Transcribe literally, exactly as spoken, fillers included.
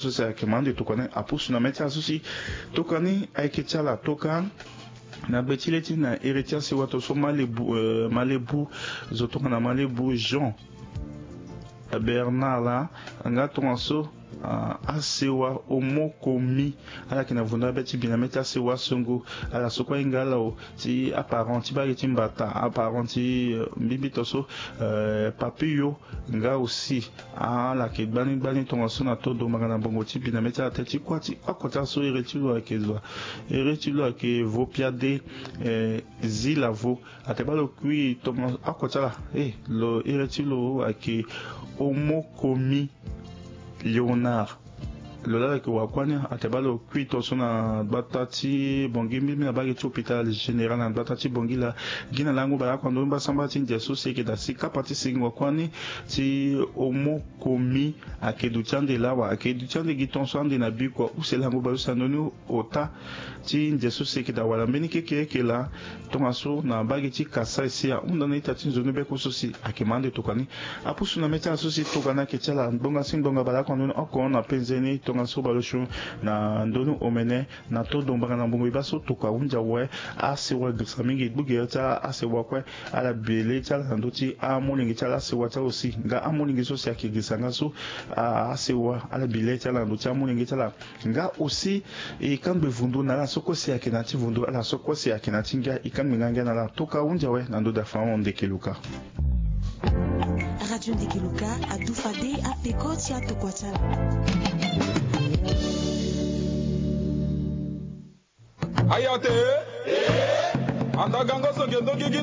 so si ayeke ma ande tokua ni apusu na mê ti ala so si tokua ni ayeke ti ala toka na gbe ti le ti na ere ti asewa to so malebu, eh, malebu zo tongana malebu jean bernard la nga tongaso, ah, asewa omokomi ala yeke na vundu abê ti bi na mê ti asewa songo. Ala so kue ahinga ala o ti aparent ti bage ti mbata aparent ti, eh, mbimbi to so, eh, papio nga aussi ala yeke gbani gbani tongaso na todo mbanga na mbongo ti bi na mê ti ala teti kua ti oko ti ala so ere ti lo ayeke zo. Ere ti lo ayeke vo piade, eh, zi lavo. Atene baa lo kui tongaso oko ti ala, eh, lo ere ti lo ayeke omokomi léonard. Lo laa lo yeke wara kuâ ni atene baa lo kui tongaso na gbata ti bongi mbimbi na bage ti hôpital général na gbata ti bongi laa. Gi na lango baleoko na ndoni mbasambala ti ndia so si ayeke daa si kapa ti singo kuâ ni ti omokomi ayeke duti ande laa wa ayeke duti ande gi tongaso ande na bikua use lango baleuse na ndoni ota ti ndia so si ayeke daa wala mbeni keke eke laa. Tongaso na bage ti kasa esi ahunda na ita ti nzoni beko so si ayeke ma ande tokua ni apusu na mê ti ala so si tokua ni ayeke ti ala ngbonga si ngbonga baleoko na ndoni oko na penze ni tongaso baleuse na ndoni omene na todo mbanga na mbongo e baa so tokua ahunzi awe. Asewa girisa mingi gbu gere ti asewa kue. Ala bi le ti ala na ndö ti amolenge ti ala asewa ti ala aussi nga amolenge so si ayeke girisa nga so, ah, asewa ala bi le ti ala na ndö ti amolenge ti ala. Nga aussi e kangbe vundu na ala so kue si ayeke na ya ti vundu ala so kue si ayeke na ya ti ngia e kangbe nga ngia na ala toka ahunzi awe na ndö daa fango ndeke luka. Radio ndeke luka adu fade apeko ti atokua ti ala. Ayate. Anda gango so nge ndo gigi.